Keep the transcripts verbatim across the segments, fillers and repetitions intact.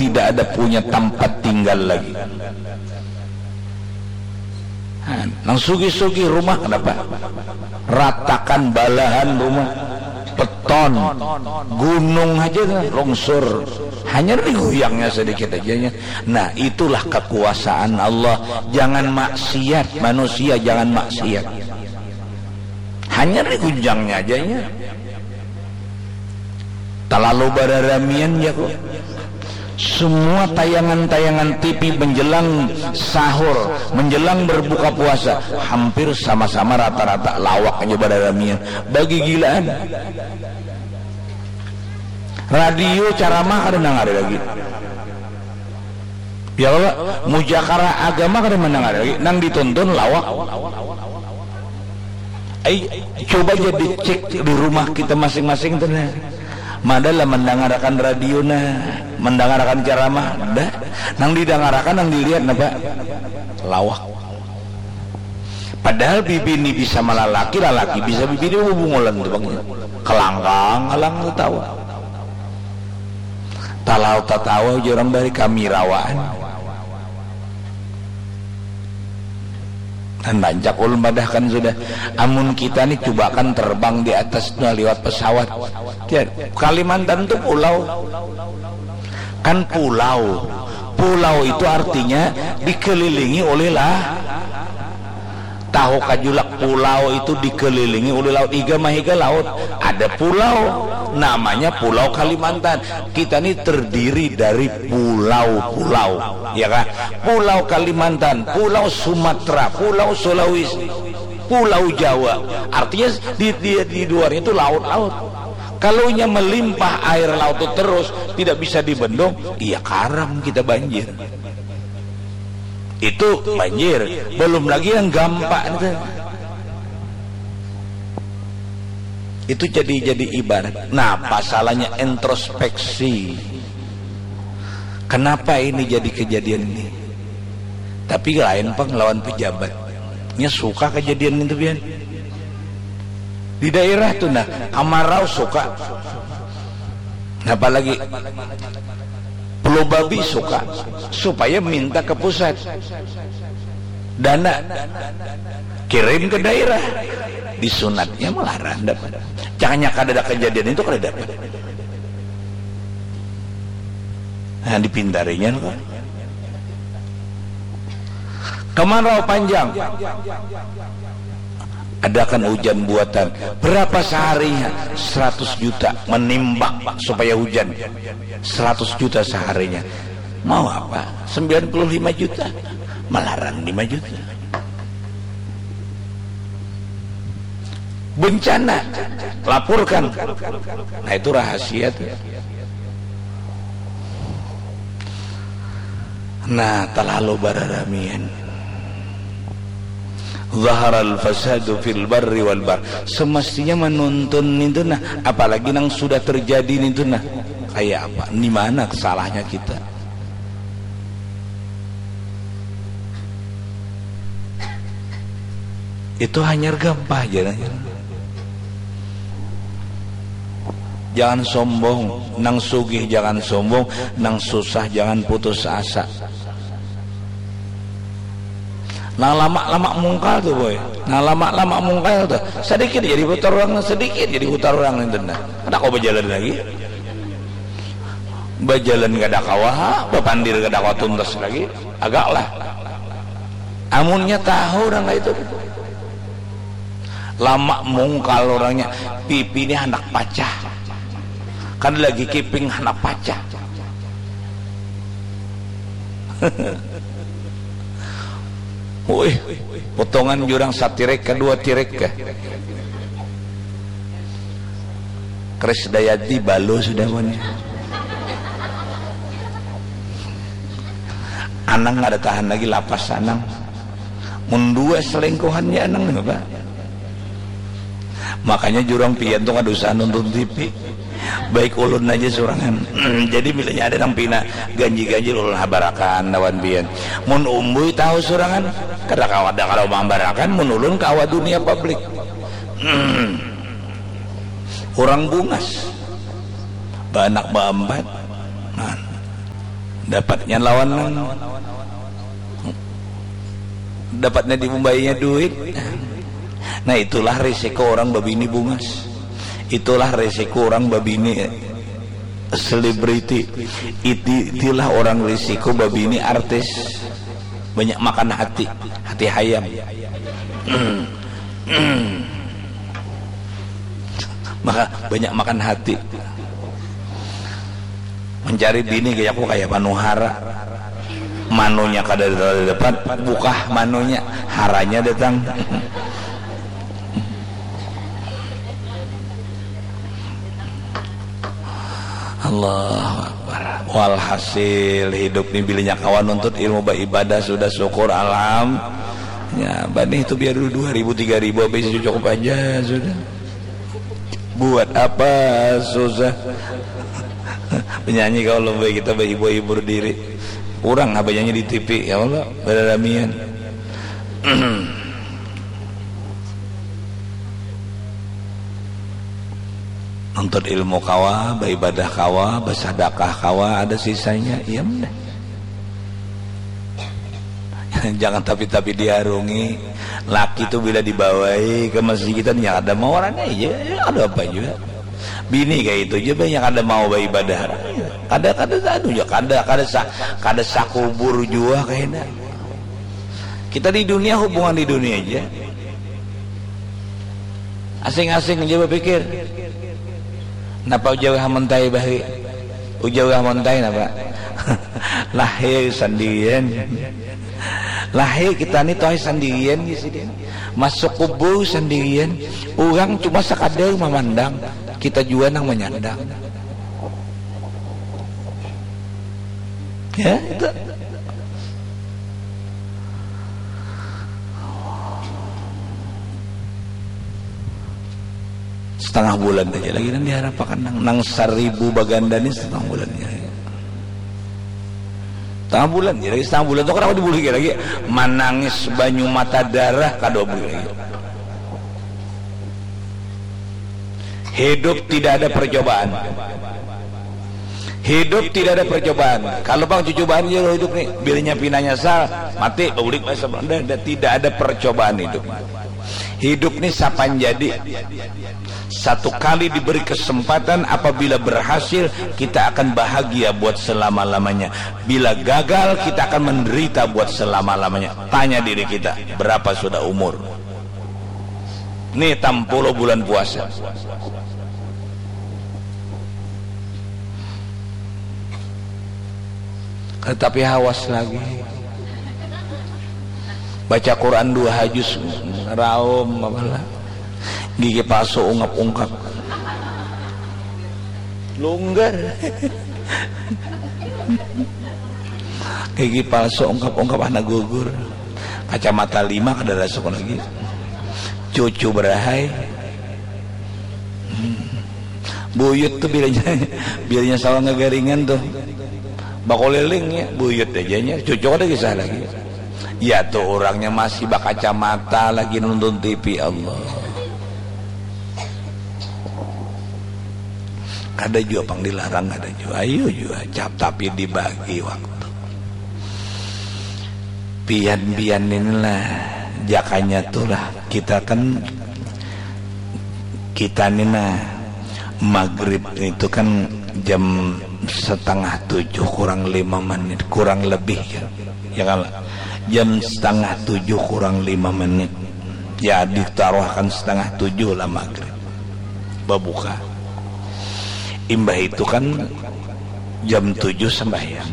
tidak ada punya tempat tinggal lagi. Nah, nang sugih-sugih rumah kenapa? Ratakan balahan rumah, beton, gunung aja kan, longsor. Hanya diguyangnya sedikit aja ya. Nah, itulah kekuasaan Allah. Jangan maksiat, manusia jangan maksiat. Hanya digunjangnya aja ya. Terlalu bararamian ya kok. Semua tayangan-tayangan T V menjelang sahur, menjelang berbuka puasa, hampir sama-sama rata-rata lawak aja bararamian. Bagigilaan. Radio ceramah kada nang ada lagi. Ya kalo, mujakara agama kada mandangar lagi, nang ditonton lawak. Ai, coba ja dicek di rumah kita masing-masing tu nah. Mada lah mandangarakan radio nah, mandangarakan ceramah, dah. Nang didangarakan, nang dilihat napa? Lawak. Padahal bibini bisa malalaki, lalaki bisa bibini bubungolan tu bang. Kelangkang alang tatawa. Talau tatawa ujar urang bari kami rawaan. Dan rancak ulun padahkan sudah. Amun kita ni cubakan terbang di atas tu liwat pesawat. Ya, Kalimantan tu pulau. Kan pulau. Pulau itu artinya dikelilingi oleh lah. Tahu kajulak pulau itu dikelilingi oleh laut. Iga mahiga laut. Ada pulau. Namanya Pulau Kalimantan. Kita ni terdiri dari pulau-pulau. Ya kan? Pulau Kalimantan, Pulau Sumatera, Pulau Sulawesi, Pulau Jawa. Artinya di, di, di luarnya itu laut-laut. Kalau nya melimpah air laut itu terus, tidak bisa dibendung, iya karam kita banjir. Itu banjir. Belum lagi yang gampang itu. Itu jadi jadi ibarat. Nah, pasalnya introspeksi. Kenapa ini jadi kejadian ini? Tapi lain pang lawan pejabat. Nya suka kejadian itu pian. Di daerah tu nah, amarau suka. Nah, apalagi Pulau Babi suka supaya minta ke pusat dana kirim ke daerah disunatnya malaran dapat caknya kada ada kejadian itu kada dapat nah dipintarinya kok kemarau panjang Adakan hujan buatan. Berapa seharinya? Seratus juta. Menimbak supaya hujan. Seratus juta seharinya. Mau apa? Sembilan puluh lima juta. Melarang lima juta. Bencana. Laporkan. Nah, itu rahasia tuh. Nah, terlalu bararamian. Zaharal fasadu fil barri wal bar. Semestinya menuntun itu nah, apalagi nang sudah terjadi itu nah. Kayak apa? Di mana salahnya kita? Itu hanyar gampah aja nah. Jangan sombong, nang sugih jangan sombong, nang susah jangan putus asa. Nang lamak-lamak mungkal tu boy, nang lamak-lamak mungkal tu sadikit jadi putar urang, nang sadikit jadi putar urang nintu nah. Kada kawa bajalan lagi. Bajalan kada kawa, bapandir kada kawa tuntas lagi. Agak lah. Amunnya tahu urang kaitu. Lamak mungkal urangnya, pipi ni handak pacah. Kada lagi kiping handak pacah. Wih, potongan jurang satirik ka dua tirik kah? Krisdayanti balu sudah punya. Anang kada tahan lagi lapas anang. Mun dua selingkuhannya anang nih bapak. Makanya jurang pian tuh kada usah nonton T V. Baik ulun aja surangan. Jadi bilanya ada nang pina ganji-ganji ulun habarakan lawan pian. Mun umbui tahu surangan kada kawa ada kalau mambarakan mun ulun kawa dunia publik. Orang bungas. Baanak baampat. Nah. Dapatnya lawan nang dapatnya diumbainya duit. Nah, itulah risiko orang babini bungas. Itulah risiko orang babini selebriti. Iti, itulah orang risiko babini artis. Banyak makan hati, hati hayam. Maka banyak makan hati. Mencari bini kayak aku kayak manuhara. Manunya kada dapat, bukah manunya, haranya datang. Allahu Akbar. Walhasil hidup ni bilinya kawan nuntut ilmu beribadah sudah syukur alham. Ya, banih itu biar dulu dua ribu tiga ribu habis cukup aja sudah. Buat apa susah? Penyanyi kalau lebih kita berhibur-hibur diri. Kurang apa nyanyi di T V ya Allah, beramian. Nuntut ilmu kawa, beribadah kawa, bersedekah kawa, ada sisanya, iya mah. Jangan tapi-tapi diharungi. Laki tu bila dibawai ke masjid kita, nya kada mau orangnya, iya, iya, ada apa juga. Bini kayak itu juga, banyak kada mau beribadah. Kada, kada, anu juga, kada, kada sa, kada sakubur jua kayaknya. Kita di dunia, hubungan di dunia aja. Asing-asing aja berpikir. Napa ujar Wah Montai bahari? Ujar Wah Montai napa? Lahir sendirian. Lahir kita ni toh sendirian di sini. Masuk kubur sendirian. Orang cuma sekadar memandang, kita juga nang menyandang. Ya, itu. Setengah bulan aja lagi nang diharapkan nang, nang seribu baganda ni setengah bulan aja. Setengah bulan aja lagi, setengah bulan tu kenapa dibuliki lagi? Manangis banyu mata darah kada buli lagi. Hidup tidak ada percobaan. Hidup tidak ada percobaan. Kalau bang cucubaan je hidup ni, bilanya pina nyasal, mati, baulik masa belum ada. Tidak ada percobaan hidup. Hidup ni sapan jadi. Satu kali diberi kesempatan, apabila berhasil, kita akan bahagia buat selama-lamanya. Bila gagal, kita akan menderita buat selama-lamanya. Tanya diri kita, berapa sudah umur? Nih, tampuluh bulan puasa. Tetapi hawas lagi. Baca Quran dua juz, raum, apalah. Gigi palsu ungkap-ungkap. Lunggar. Gigi palsu ungkap-ungkap anak gugur. Kacamata lima kada rasuk lagi. Cucu berahai. Hmm. Buyut tu bilanya, bilanya sawah ngagaringan tu. Bakuliling ya, buyut aja nya. Cucu kada kisah lagi. Ya tu orangnya masih bakacamata lagi nonton T V, Allah. Kada jua pang dilarang, kada jua. Ayo jua, cap, tapi dibagi waktu. Pian-pian inilah jakanya tu lah. Kita kan, kita ni nah, maghrib itu kan jam setengah tujuh kurang lima menit, kurang lebih ya. Ya kan? Jam setengah tujuh kurang lima menit. Ya, ditaruhkan setengah tujuh lah maghrib. Babuka. Imbah itu kan jam tujuh sembahyang.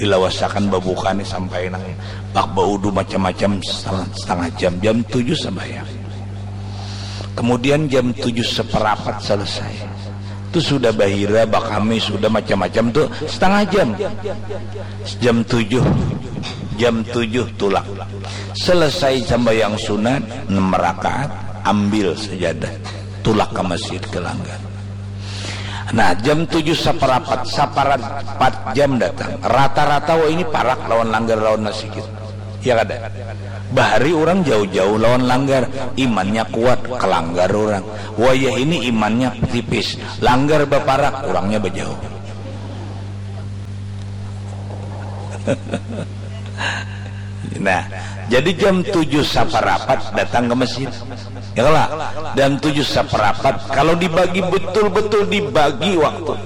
Dilawasakan babuka ni sampai nang pak baudu macam-macam setengah, setengah jam. Jam tujuh sembahyang. Kemudian jam tujuh seperapat selesai. Tu sudah bahira, bakami, sudah macam-macam tu setengah jam. Jam tujuh, jam tujuh tulak. Selesai sambahyang sunat, enam rakaat, ambil sajadah. Tulak ke masjid, ke langgar. Nah, jam tujuh saparapat, saparapat jam datang. Rata-rata wah ini parak lawan langgar lawan masjid. Ya kada? Bahari orang jauh-jauh lawan langgar, imannya kuat, ke langgar orang. Wayah ini imannya tipis, langgar baparak, orangnya bajauh. Nah, jadi jam tujuh saparapat datang ke masjid. Ya lah, jam tujuh saparapat, kalau dibagi betul-betul dibagi waktu,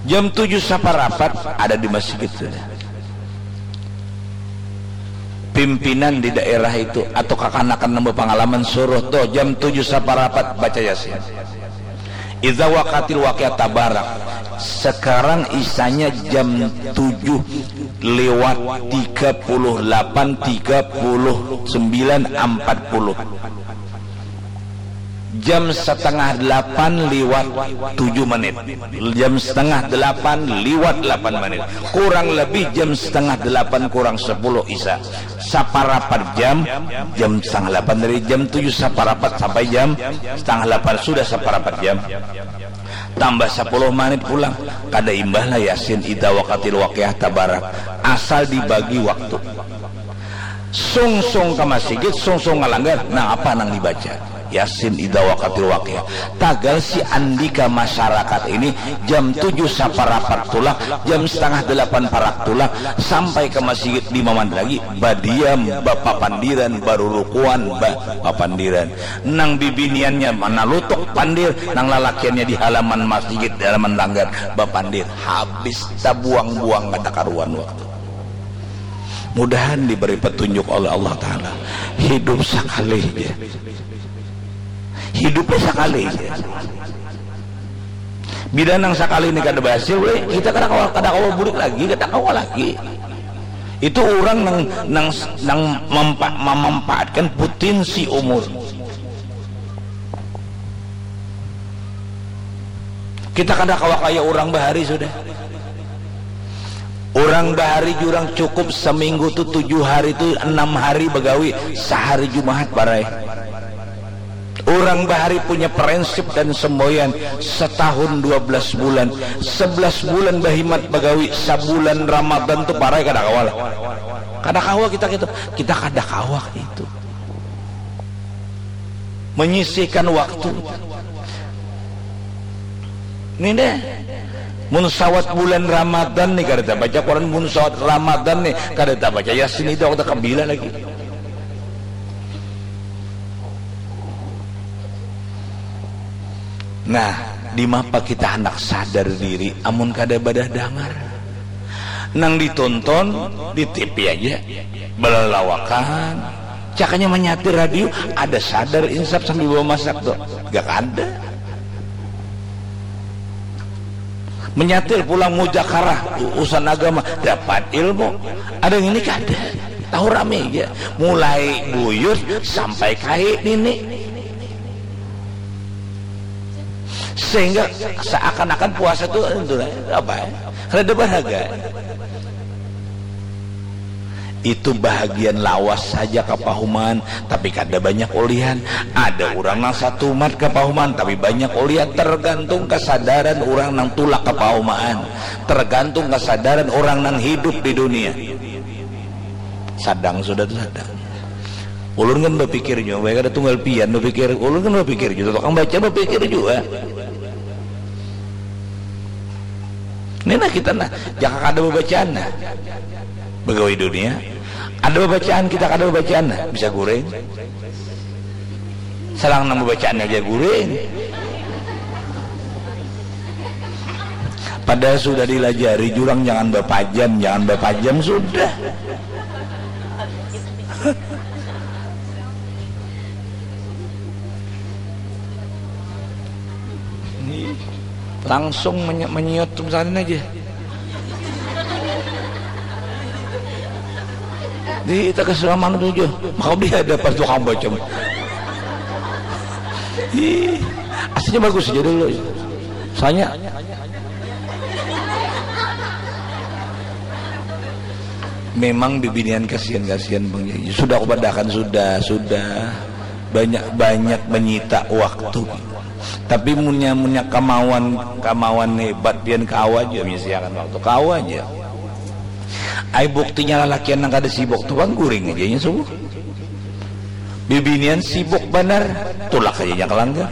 jam tujuh saparapat ada di masjid sudah. Pimpinan di daerah itu atau kakanakan nang berpengalaman suruh tuh jam tujuh saparapat baca Yasin. Idza waqatil waqiah tabarak. Sekarang isanya jam tujuh lewat tiga puluh delapan, tiga puluh sembilan, empat puluh. Jam setengah delapan lewat tujuh menit. Jam setengah delapan lewat delapan menit. Kurang lebih jam setengah delapan kurang sepuluh Isa. Saparapat jam, jam setengah delapan, dari jam tujuh saparapat sampai jam setengah delapan, sudah saparapat jam. Tambah sepuluh menit pulang, kada imbah lah Yasin idza waqatil waqiah tabarak. Asal dibagi waktu. Sungsung ka masigit, sungsung ngalanggar, nang apa nang dibaca? Yasin idza waqatil waqiah. Tagal si andika masyarakat ini jam tujuh saparapat tulak, jam setengah delapan parak tulak, sampai ka masigit lima menit lagi, badiam, bapapandiran, barurukuan, ba-, bapandiran. Nang bibiniannya manalutuk pandir, nang lalakiannya di halaman masigit, di halaman langgar, bapandir. Habis tabuang-buang kada karuan waktu. Mudahan diberi petunjuk oleh Allah Ta'ala. Hidup sakali ja. Hidupnya sakali ja. Bila nang sakali ini kada berhasil, weh, kita kada kawa, kada kawa bulik lagi, kada kawa lagi. Itu orang nang, nang, nang mempa-, memanfaatkan potensi umur. Kita kada kawa kaya orang bahari sudah. Orang bahari jurang cukup seminggu tu tujuh hari tu enam hari begawi, sehari Jumahat barai. Orang bahari punya prinsip dan semboyan setahun dua belas bulan, sebelas bulan bahimat begawi, sebulan Ramadan tu parai kada kawa lah. Kada kawa kita gitu, kita kada kawa itu. Menyisihkan waktu. Ini deh. Mun sawat bulan Ramadan nih kada tabaca Quran, mun sawat Ramadan nih kada tabaca Yasin, itu waktu kebila lagi. Nah, dimapa kita hendak sadar diri amun kada badah dangar? Nang ditonton di T V aja, balalawakan. Cakanya manyatir radio, ada sadar insaf sambil bawa masak tuh. Gak ada. Menyatir pulang mujakarah, u-, urusan agama, dapat ilmu. Ada yang ini kada. Tahu rame aja. Mulai buyut sampai kai nini. Sehingga seakan-akan puasa tu, itu lah, apa ya? Rada berharga. Itu bahagian lawas saja kapahuman, tapi kada banyak ulihan. Ada urang nang satumat kapahuman, tapi banyak ulihan. Tergantung kesadaran urang nang tulak kapahuman. Tergantung kesadaran urang nang hidup di dunia. Sadang sudah tu sadang. Ulun kan bapikir jua, baik ada tunggal pian bapikir. Ulun kan bapikir jua, tukang baca bapikir jua. Ini nah kita nah, jaka kada babacaan nah. Begawi dunia, ada babacaan, kita kada babacaan nah, bisa guring. Salang nang babacaannya aja guring. Padahal sudah dilajari jurang jangan bapajam, jangan bapajam sudah. Langsung menye-, menyiut tuh misalnya aja. Di kita keselaman tujuh, maka di hadapan tukang bacem. Ih, aslinya bagus aja dulu. Soalnya memang bibinian kasihan-kasihan Bang Yai. Sudah aku padahakan, sudah, sudah. Banyak-banyak menyita waktu. Tapi munnya, munnya kamawan, kamawan hebat pian kawa aja menyisiakan waktu. Kawa aja. Ai buktinya lalakian nang kada sibuk tu pang guring aja inya subuh. Bibinian sibuk banar, tulak aja inya ka langgar.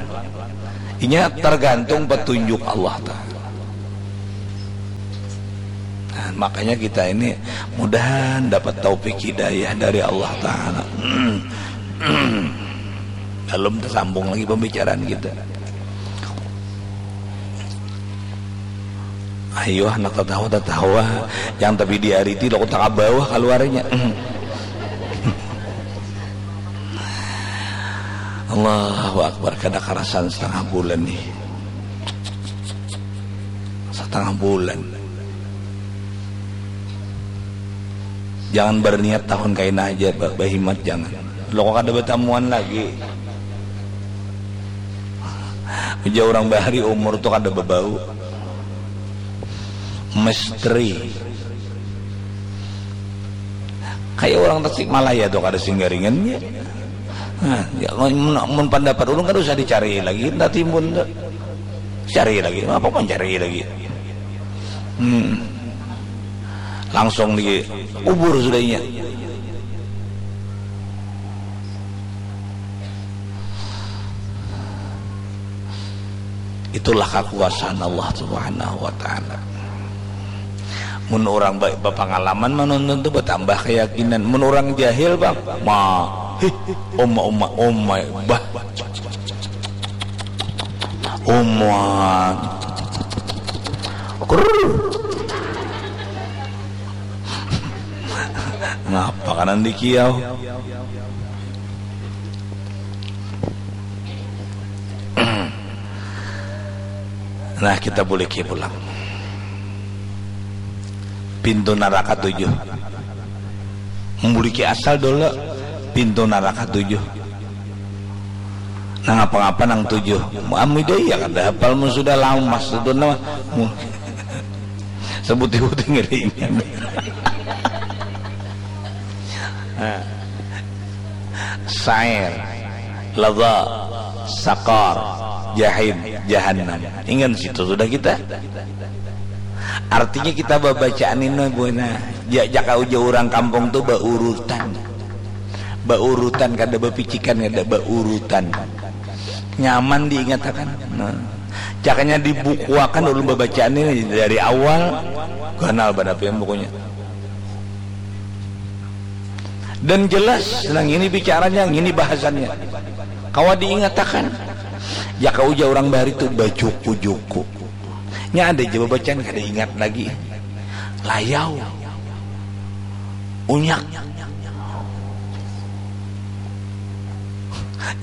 Inya tergantung petunjuk Allah Ta'ala. Makanya kita ini mudahan dapat taufik hidayah dari Allah Ta'ala. Belum tersambung lagi pembicaraan kita. Ayo, anak tatawa-tatawa, yang tapi diariti lo kota ka bawah keluarnya. Allahu Akbar, kada karasan setengah bulan nih. Setengah bulan. Jangan berniat tahun kaina aja, ba- bahimat jangan. Lo kok kada batamuan lagi. Ujar orang bahari umur tuh kada babau. Misteri. Kayak orang Tasikmalaya tuh kada singgaringan ya. Nah, ya, mun, mun pendapat ulun kada usah dicari lagi, entah timbun tuh. Cari lagi, apa pun cari lagi. Hmm. Langsung dikubur sudah inya. Itulah kekuasaan Allah Subhanahu wa Ta'ala. Mun orang ba- bapangalaman manonton tu batambah keyakinan. Mun orang jahil bang, ma, hih, oma oma oma, bah, oma, krrr. Ngapa kanan dikiau? Nah, kita buliki pulang pintu naraka tujuh. Membuliki asal dulu pintu naraka tujuh. Nah, ngapa-ngapa nang tujuh? Amida iya kada hapal mun sudah lamas itu nama. Mu- Sebuti-buti ngeringan. Nah. Sair, ladha, sakar, jahim, jahannam. Ingat situ sudah kita. Artinya kita babacaan ini buena. Ja- jaka uja orang kampung tu baurutan. Baurutan kada bapicikan kada baurutan. Nyaman diingatakan. Nah. Cakanya dibukuakan ulun babacaan ini dari awal ganal banar pian bukunya. Dan jelas nang ini bicaranya, ngini bahasannya. Kawa diingatakan. Jaka uja orang bahari tu bajuku-juku. Nya ada ja babacaan kada ingat lagi. Layau. Unyak.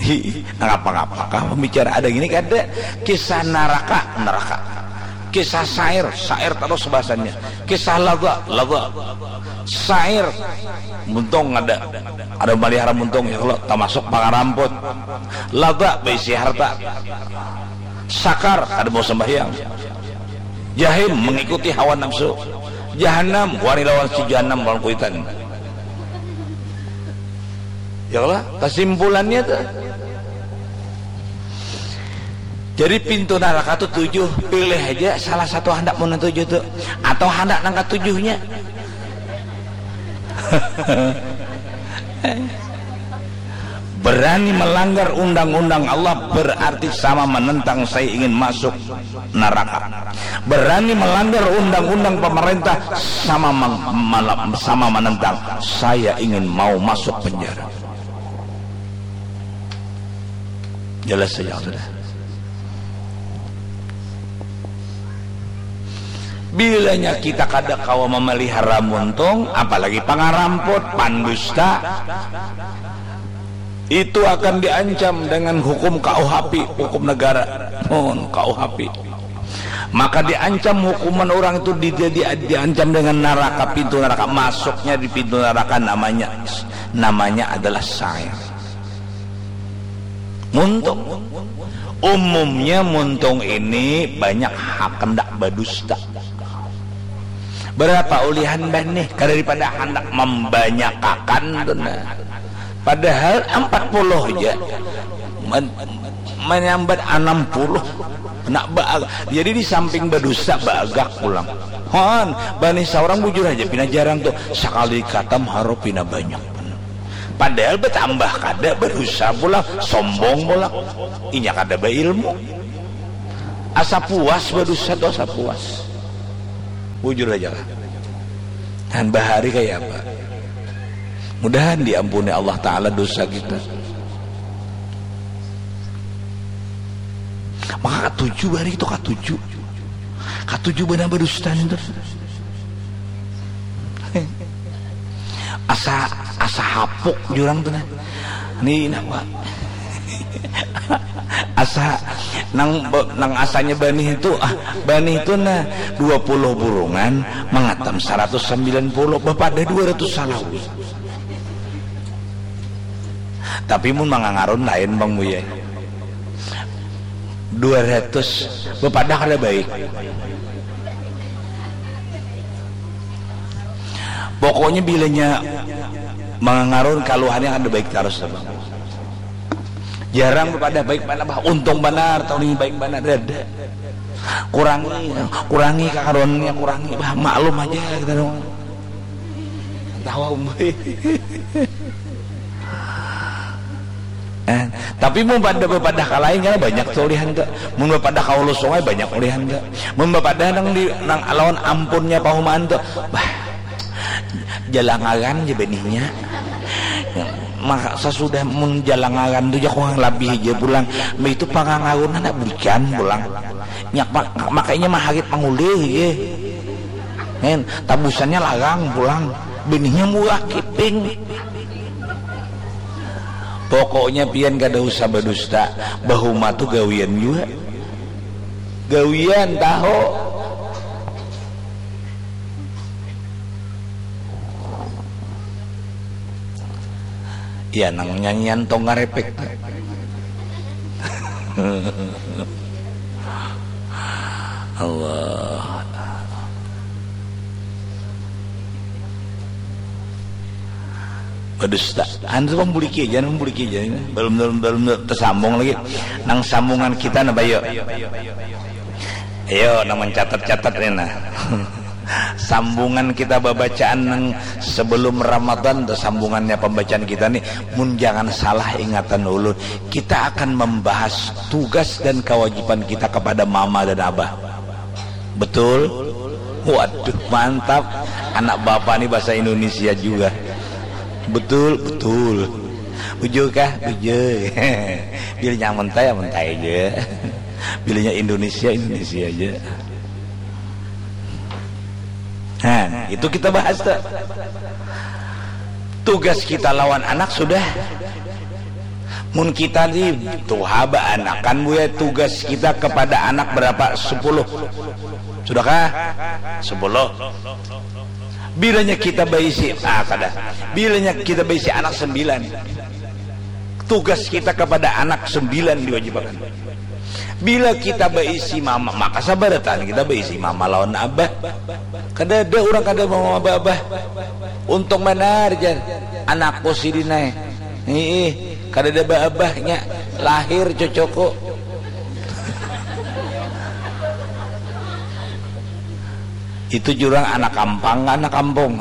Hi, ngapa-ngapa kah pembicara ada gini kada? Kisah naraka, neraka. Kisah sair, sair terus bahasannya. Kisah ladha, ladha. Sair, muntung ada. Ada malihara muntung ya kalau termasuk pangaramput. Ladha berisi harta. Sakar kada mau sembahyang. Jahim mengikuti hawa nafsu. Jahanam wani lawan si jahanam lawan kuitan. Ya lah, kesimpulannya tuh. Jadi pintu neraka tuh tujuh, pilih aja salah satu hendak mau tujuh tuh, atau hendak nang ketujuhnya. Berani melanggar undang-undang Allah berarti sama menentang saya ingin masuk neraka. Berani melanggar undang-undang pemerintah sama meng- malam sama menentang saya ingin mau masuk penjara. Jelas saja sudah. Bilanya kita kada kawa memelihara muntung, apalagi pangaramput, pandusta, itu akan diancam dengan hukum K U H P, hukum negara. Mohon K U H P. Maka diancam hukuman orang itu di, di, di- diancam dengan neraka, pintu neraka, masuknya di pintu neraka namanya namanya adalah sair. Muntung. Umumnya muntung ini banyak hak hendak badusta. Berapa ulihan bah nih? Kada daripada hendak membanyakakan tu nah. Padahal empat puluh aja. Men- menyambat enam puluh. Nak baag- jadi di samping badusta baagak pulang. Hon, bani seorang bujur aja pina jarang tuh. Sekali katam haro pina banyak. Padahal bertambah kada berusaha pulang, sombong pulang. Inya kada berilmu. Asa puas berusaha tuh asa puas. Bujur aja lah. Nah, bahari kaya apa? Mudahan diampuni Allah Ta'ala dosa kita. Maka katuju bahari itu, katuju. Katuju banar badusta nintu. Asa, asa hapuk jurang tu nah. Ni napa? Asa nang, nang asanya banih itu, ah, banih itu nah dua puluh burungan mangatam saratus sambilan puluh, bapadah dua ratus salawi. Tapi mun mangangarun lain, Bang Buya. Dua ratus bapadah kada baik. Pokoknya bilanya mangangarun kaluhannya kada baik tarus, Bang. Jarang bapadah baik banar, bah, untung banar tahun ini baik banar, dada. Kurangi, kurangi kakaruannya, kurangi, bah, maklum aja kita dong. Tawa umbai. Eh, tapi mun pada bapadah ka lain, kan banyak tu ulihan tu. Mun bapadah ka hulu sungai, banyak ulihan tu. Mun bapadah nang di, nang lawan ampunnya pahumaan tu, bah, jalangaran ja benihnya. Maka sasudah mun jalangaran tu ja kurang labih ja pulang. Mbah itu pangangarun anak bujan pulang. Nyak ma-, makanya maharit mangulih ja. Ngen, tabusannya larang pulang. Benihnya murah kiping. Pokoknya pian kada usah badusta, bahuma tu gawian jua. Gawian tahu. Ya, nang nyanyian tonggar epek. Allah. Badusta. Anu tu, membuliki aja, membuliki aja. Belum, belum, belum tersambung lagi. Nang sambungan kita, nah, bayo. Ayo, nang mencatat-catat ni, nah. Sambungan kita babacaan nang sebelum Ramadan tu, sambungannya pembacaan kita ni, mun jangan salah ingatan ulun, kita akan membahas tugas dan kewajiban kita kepada mama dan abah. Betul? Waduh, mantap. Anak bapak ni bahasa Indonesia juga. Betul, betul. Bujur kah? Bujur. Bilanya mentai, ya mentai aja. Bilanya Indonesia, Indonesia aja. Nah, itu kita bahas tuh. Tugas kita lawan anak sudah. Mun kita ni tuha baanakan, Buya, tugas kita kepada anak berapa? Sepuluh. Sudahkah? Sepuluh. Bilanya kita baisi, ah, kada. Bilanya kita baisi anak sembilan. Tugas kita kepada anak sembilan diwajibakan. Bila kita baisi mama, maka sabarataan kita baisi mama lawan abah. Kada ada orang kada mama abah. Untung banar, jar anakku sidin ai. Hiih, kada ada baabahnya. Lahir cucuku. Itu jurang anak kampang, anak kampung.